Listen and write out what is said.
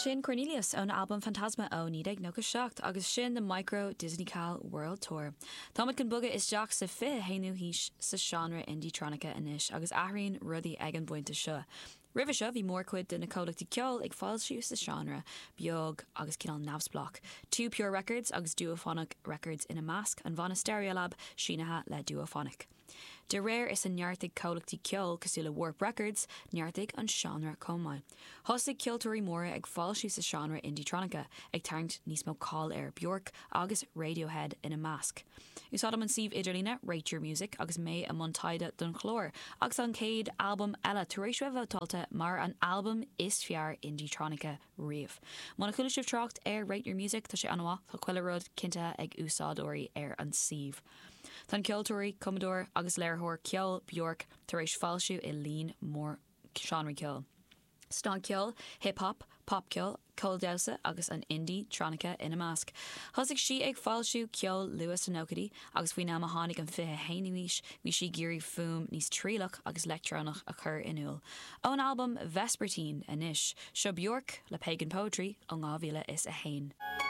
Sin Cornelius ón albam Fantasma ó 1997 agus sin The Micro Disneycal World Tour. Táimid chun bogadh isteach sa 21ú haois sa seánra indietronica anois agus athraíonn rudaí ag an bpointe seo. Roimhe seo bhí mórchuid de na comhlachtaí ceoil ag foilsiú sa seánra beag agus cineál neamhspleách, Too Pure Records agus Duophonic Records ina measc, an bhanna Stereolab sínithe le Duophonic. De réir is a neartaigh comhlachtaí ceoil cosúil le Warp Records, neartaigh an seánra chomh maith. Thosaigh ceoltóirí móra ag foilsiú sa seánra indietronica, ag tarraingt níos mó cáil air, Bjork agus Radiohead ina measc. Úsáidim an suíomh idirlíne Rate Your Music agus mé i mbun taighde don chlár, agus tá an chéad albam eile tar éis bheith vótáilte mar an albam is fearr indietronica riamh. Muna chuala sibh trácht ar Rate Your Music, tá sé an-mhaith, tá chuile rud cinntithe ag úsáideoirí ar an suíomh. Tá an ceoltóirí, cumadóir agus léiritheoir ceoil Bjork tar éis foilsiú i líon mór seánraí ceoil. Snagcheol, hip hop, popcheol, ceol damhsa agus an indie-tronica ina measc. Thosaigh sí ag foilsiú ceoil luath sna nóchaidí agus faoin am a tháinig an 21ú haois bhí sí ag iarraidh fuaim níos trialach agus leictreonach a chur in iúl. Ón albam Vespertine anois, seo Bjork le Pagan Poetry ó 2001.